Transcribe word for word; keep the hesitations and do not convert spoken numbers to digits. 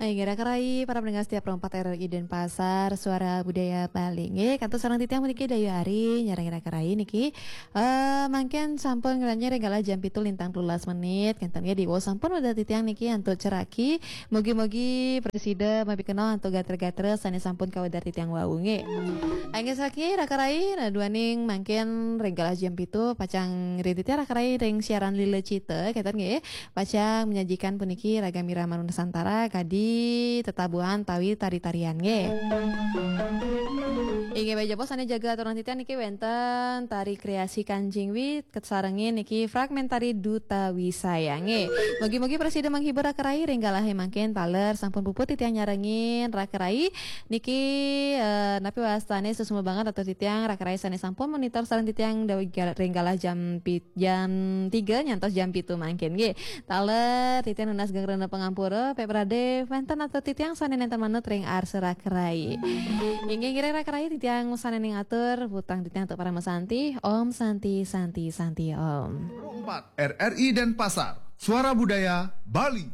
Inggih, Raka Rai, para pendengar setia Pro empat R R I Denpasar, Suara Budaya Bali. Nggih, kantun sareng titiang puniki Dayu Ari, nyarengin Raka Rai niki. Eh, mangkin sampun ngranjing ring galah jam pitu lintang telulas menit. Kenten nggih, diwau sampun wedar titiang niki antuk ceraki. Mugi-mugi prasida mapikenoh antuk gatra-gatra sane sampun kawedar titiang wau nggih. Inggih, saki Raka Rai, nah, duaning mangkin ring galah jam pitu pacang ring titiang Raka Rai ring siaran Lila Cita, kenten nggih. Pacang menyajikan puniki ragam irama Nusantara kadi tetabuhan tawi tari-tarian nggih. Inggih, baik jebos sane jaga aturan titiang niki wenten tari kreasi Kanjeng Wi, kasarengin niki fragmen tari Duta Wisaya nggih. Mugi-mugi prasida menghibur Raka Rai ring galahe mangkin taler sampun puput titiang nyarengin Raka Rai niki, eh, napi wastane suksma banget atur titiang Raka Rai sane sampun monitor sareng titiang dawi gal-, ring galah jam pit-, jam tiga nyantos jam pitu mangkin nggih. Taler titiang nunas geng rena pangampura, pek prade wenten atur titiang sane nenten manut ring arsa Raka Rai. Inggih ngiring Raka Rai titiang sane ning atur, puputang titiang antuk parama santi. Om Santi, Santi, Santi, Om. Empat R R I Denpasar, Suara Budaya Bali.